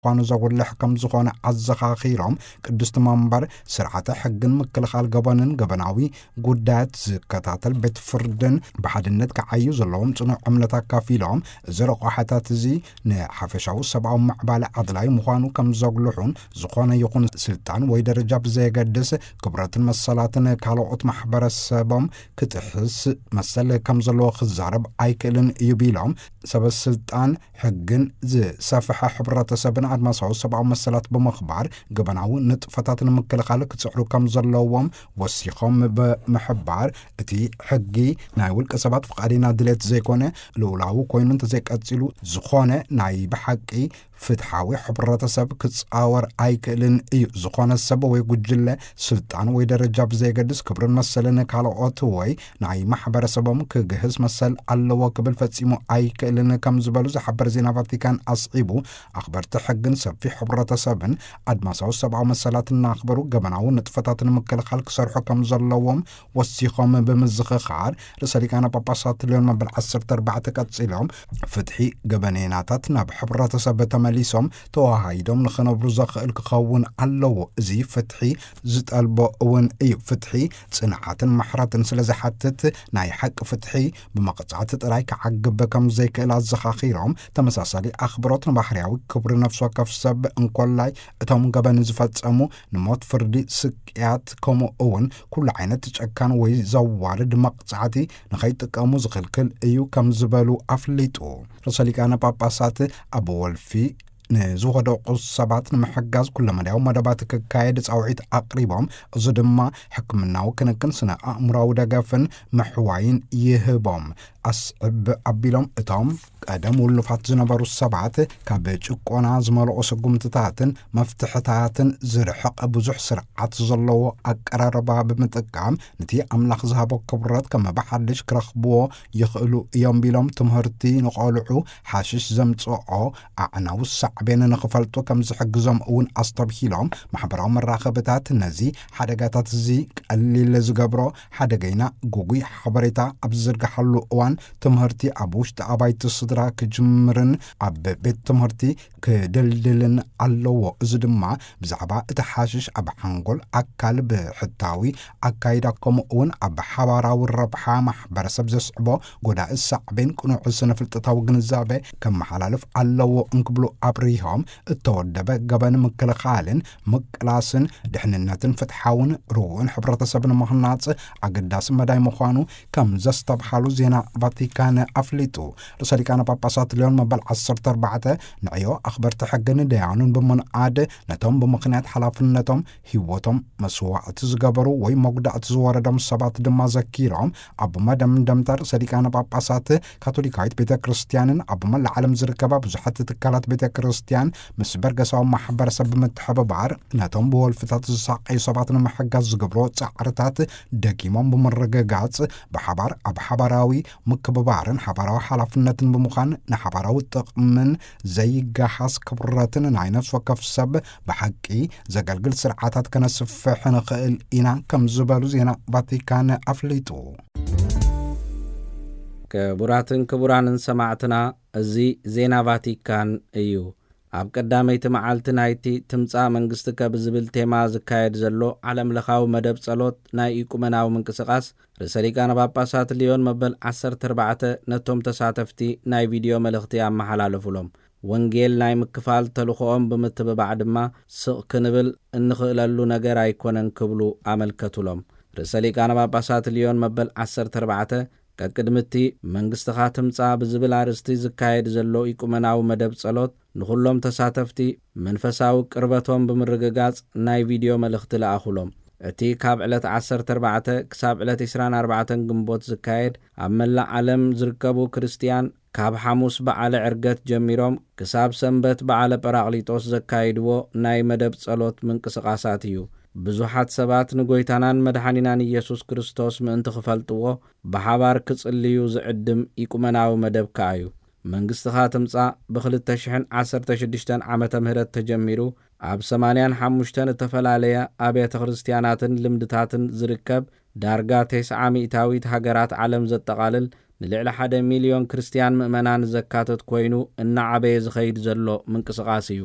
ምዃኑ ዘጉልሕ ከም ዝኾነ ኣዘኻኺሮም፣ ቅድስቲ መንበር ስርዓተ ሕግን ምክልኻል ገበንን ገበናዊ ጉዳያት ዝከታተል ቤት ፍርድን ብሓድነት ክዓዩ ዘለዎም ጽኑዕ እምነት ኣካፊሎም፣ እዚ ረቋሕታት እዚ ንሓፈሻዊ ሰብኣዊ ምዕባለ ኣድላይ ምዃኑ ከም ዘጉልሑን፣ ዝኾነ ይኹን ስልጣን ወይ ደረጃ ብዘየገድስ ክብረትን መሰላትን ካልኦት ማሕበረሰቦም ክጥሕስ መሰል ከም ዘለዎ ክዛረብ ኣይክእልን እዩ ቢሎም፣ ሰበ ስልጣን ሕግን ዝሰፍሐ ሕብረተሰብን ኣድማሳዊ ሰብኣዊ መሰላት ብምኽባር ገበናዊ ንጥፈታት ንምክልኻል ክጽዕሩ ከም ዘለዎም ወሲኾም ብምሕባር፣ እቲ ሕጊ ናይ ውልቀ ሰባት ፍቓድና ድሌት ዘይኮነ ልኡላዊ ኮይኑ እንተዘይቀጺሉ፣ ዝኾነ ናይ ብሓቂ ፍትሓዊ ሕብረተሰብ ክጻወር ኣይክእልን እዩ። ዝኾነ ሰብ ወይ ጉጅለ ስልጣን ወይ ደረጃ ብዘየገድስ ክብርን መሰልን ካልኦት ወይ ናይ ማሕበረሰቦም ክግህስ መሰል ኣለዎ ክብል ፈጺሙ ኣይክእልን ከም ዝበሉ ዝሓበር ዜና ቫቲካን ኣስዒቡ፣ ኣኽበርቲ ሕግን ሰፊሕ ሕብረተሰብን ኣድማሳዊ ሰብኣዊ መሰላት እናኽበሩ ገበናዊ ንጥፈታት ንምክልኻል ክሰርሑ ከም ዘለዎም ወሲኾም ብምዝኽኻር፣ ርእሰ ሊቃነ ጳጳሳት ሊዮን መበል ዓሰርተ ኣርባዕተ ቀጺሎም፣ ፍትሒ ገበኔናታት ናብ ሕብረተሰብ ተመሊሶም ተዋሃሂዶም ንኽነብሩ ዘኽእል ክኸውን ኣለዎ። እዚ ፍትሒ ዝጠልቦ እውን እዩ። ፍትሒ ጽንዓትን ምሕረትን ስለ ዝሓትት፣ ናይ ሓቂ ፍትሒ ብመቕጻዕቲ ጥራይ ክዓግብ ከም ዘይክእል ኣዘኻኺሮም፣ ተመሳሳሊ ኣኽብሮት ንባህርያዊ ክብሪ ነፍሲ ወከፍ ሰብ እንኮላይ እቶም ገበን ዝፈጸሙ ንሞት ፍርዲ፣ ስቅያት፣ ከምኡ እውን ኩሉ ዓይነት ጨካን ወይ ዘዋርድ መቕጻዕቲ ንኸይጥቀሙ ዝኽልክል እዩ ከም ዝበሉ ኣፍሊጡ። ርእሰ ሊቃነ ጳጳሳት ኣብ ወልፊ ንዝወደቑ ሰባት ንምሕጋዝ ኩለመዳያዊ መደባት ክካየድ ጻውዒት ኣቕሪቦም፣ እዚ ድማ ሕክምናዊ ክንክን፣ ስነ ኣእምሮዊ ደገፍን ምሕዋይን ይህቦም። ኣስዕብ ኣቢሎም፣ እቶም ቀደም ውሉፋት ዝነበሩ ሰባት ካብ ጭቆና ዝመልኦ ስጉምትታትን መፍትሕታትን ዝርሕቕ ብዙሕ ስርዓት ዘለዎ ኣቀራርባ ብምጥቃም፣ ነቲ ኣምላኽ ዝሃቦ ክብረት ከም ብሓድሽ ክረኽብዎ ይኽእሉ እዮም ቢሎም፣ ትምህርቲ ንቖልዑ ሓሽሽ ዘምጽኦ ኣዕናዊ ሳዕቤን ንኽፈልጡ ከም ዝሕግዞም እውን ኣስተብሂሎም፣ ማሕበራዊ መራኸብታት ነዚ ሓደጋታት እዚ ቀሊል ዝገብሮ፣ ሓደገይና ግጉይ ሓበሬታ ኣብ ዝዝርግሓሉ እዋን ትምህርቲ ኣብ ውሽጢ ኣባይቲ ስድራ ክጅምርን ኣብ ቤት ትምህርቲ ክድልድልን ኣለዎ። እዚ ድማ ብዛዕባ እቲ ሓሽሽ ኣብ ሓንጎል፣ ኣካል፣ ብሕታዊ ኣካይዳ፣ ከምኡ እውን ኣብ ሓባራዊ ረብሓ ማሕበረሰብ ዘስዕቦ ጎዳኢ ሳዕቤን ቅኑዕ ስነ ፍልጠታዊ ግንዛቤ ከመሓላልፍ ኣለዎ እንክብሉ ኣብሪሆም፣ እተወደበ ገበን ምክልኻልን ምቅላስን ድሕንነትን ፍትሓውን ርኡን ሕብረተሰብ ንምህናጽ ኣገዳሲ መዳይ ምዃኑ ከም ዘስተብሃሉ ዜና ቫቲካን ኣፍሊጡ። ርእሰ ሊቃነ ጳጳሳት ሊዮን መበል ዓሰርተ ኣርባዕተ ንዕዮ ኣኽበርቲ ሕግን ደያኑን ብምንኣድ፣ ነቶም ብምኽንያት ሓላፍነቶም ህይወቶም መስዋዕቲ ዝገበሩ ወይ መጉዳእቲ ዝወረዶም ሰባት ድማ ዘኪሮም፣ ኣብ መደምደምታ ርእሰ ሊቃነ ጳጳሳት ካቶሊካዊት ቤተ ክርስቲያንን ኣብ መላእ ዓለም ዝርከባ ብዙሓት ትካላት ቤተ ክርስቲያን ምስ በርገሳዊ ማሕበረሰብ ብምትሕብባር ነቶም ብወልፍታት ዝሳቀዩ ሰባት ንምሕጋዝ ዝገብሮ ጻዕርታት ደጊሞም ብምርግጋጽ፣ ብሓባር ኣብ ሓባራዊ ምክብባርን ሓባራዊ ሓላፍነትን ብምዃን ንሓባራዊ ጥቕምን ዘይገሃስ ክብረትን ናይ ነፍሲ ወከፍ ሰብ ብሓቂ ዘገልግል ስርዓታት ከነስፍሕ ንኽእል ኢና ከም ዝበሉ ዜና ቫቲካን ኣፍሊጡ። ክቡራትን ክቡራንን ሰማዕትና፣ እዚ ዜና ቫቲካን እዩ። ኣብ ቀዳመይቲ መዓልቲ ናይቲ ትምጻእ መንግስትከ ብዝብል ቴማ ዝካየድ ዘሎ ዓለምለኻዊ መደብ ጸሎት ናይ ኢቁመናዊ ምንቅስቓስ፣ ርእሰ ሊቃነ ጳጳሳት ሊዮን መበል ዓሰርተ ኣርባዕተ ነቶም ተሳተፍቲ ናይ ቪድዮ መልእኽቲ ኣመሓላለፉሎም። ወንጌል ናይ ምክፋል ተልእኾኦም ብምትብባዕ ድማ ስቕ ክንብል እንኽእለሉ ነገር ኣይኮነን ክብሉ ኣመልከቱሎም። ርእሰ ሊቃነ ጳጳሳት ሊዮን መበል ዓሰርተ ኣርባዕተ ቀቅድሚ እቲ መንግስትኻ ትምጻእ ብዝብል ኣርእስቲ ዝካየድ ዘሎ ኢቁመናዊ መደብ ጸሎት ንኹሎም ተሳተፍቲ መንፈሳዊ ቅርበቶም ብምርግጋጽ ናይ ቪድዮ መልእኽቲ ለኣኹሎም። እቲ ካብ ዕለት ዓሰርተ ኣርባዕተ ክሳብ ዕለት ዕስራን ኣርባዕተን ግንቦት ዝካየድ ኣብ መላእ ዓለም ዝርከቡ ክርስትያን ካብ ሓሙስ በዓለ ዕርገት ጀሚሮም ክሳብ ሰንበት በዓለ ጳራቅሊጦስ ዘካይድዎ ናይ መደብ ጸሎት ምንቅስቓሳት እዩ። ብዙሓት ሰባት ንጎይታናን መድሓኒናን ኢየሱስ ክርስቶስ ምእንቲ ክፈልጥዎ ብሓባር ክጽልዩ ዝዕድም ኢቁመናዊ መደብ ከኣ እዩ። መንግስትኻ ትምጻእ ብኽልተ ሽሕን ዓሰርተ ሽዱሽተን ዓመተ ምህረት ተጀሚሩ ኣብ ሰማንያን ሓሙሽተን እተፈላለየ ኣብያተ ክርስትያናትን ልምድታትን ዝርከብ ዳርጋ ተስዓ ሚእታዊት ሃገራት ዓለም ዘጠቓልል ንልዕሊ ሓደ ሚልዮን ክርስትያን ምእመናን ዘካትት ኮይኑ እናዓበየ ዝኸይድ ዘሎ ምንቅስቓስ እዩ።